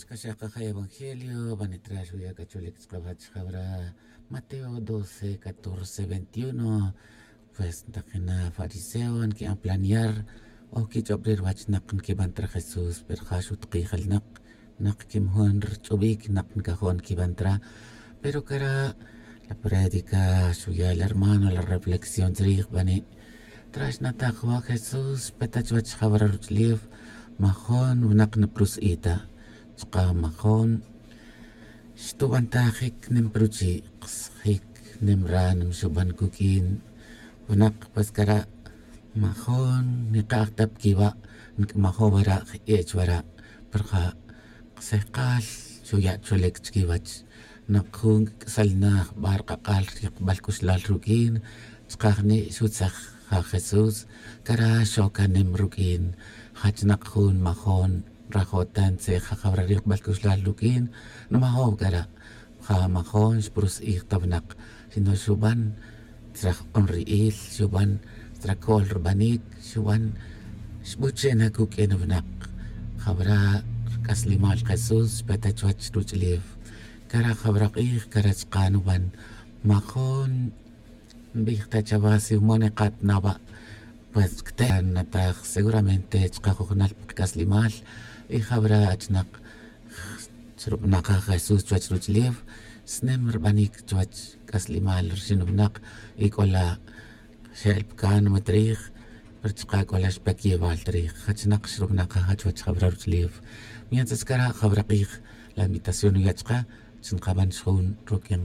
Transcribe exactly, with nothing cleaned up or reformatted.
Caxaj kaja' evangelio banitra xuya' c'a chulic chkawach jawra mateo doce catorce veintiuno. Pues ntakina fariseo nqui'an planear o quich'ob ri ruwach nak nquiban ta ra jesús pero ja xutakij jal nak nak quimojun rich'ubic nak ncajo' nquiban ta ra. Pero cara' la prédica xuya' la hermano la reflexión chrij bani'. Traxnataj wa jesús xpe ta chuwech jawra ruch'ulef. Majon winak niprus'i' ta chka majon xtubantajic nim pa ruchi' ksajic nim ra nim xuban cuq'uin. Winak pues cara' majon nikaj ta pa quiwa' nic'amajo' wara' je' chwara' pero ja' ksejkal xuya' cholic chiquiwach. Nak jun c'axal na jbar k'ak'al rikbal c'uxlal ruq'uin. Chkaj ni' xutzaj ja jesús cara' xocanem ruq'uin. Jach nak jun majon rajo' ta ntzej jajawra rikbal c'uxlal ruq'uin. Nmajo' cara' ja majon xprus'ij ta winak sino xuban tzraj q'on ri'il xuban tzracol rbanic xuban xbuche' na cuq'uin winak. Jawra rc'aslimal jesús xpe ta chuwech ruch'ulef. Cara' jawra k'ij cara' chka nuban majon nbij ta chawa si wumon ikat na wa'. Pues cte' nataj seguramente chka jujunal pa kac'aslimal y jawra achnak xrub'anaj jesús chuwech ruch'ulef. Snem rbanic chuwech c'aslimal rxin winak y c'o la xe'el pa cánima ta rij pero chka c'o la xpe quiyewal ta rij jachnak xrub'anaj ja chuwech jawra ruch'ulef. Mientras cara' jawra k'ij la invitación nuya' chka chi nkaban xjun ruq'uin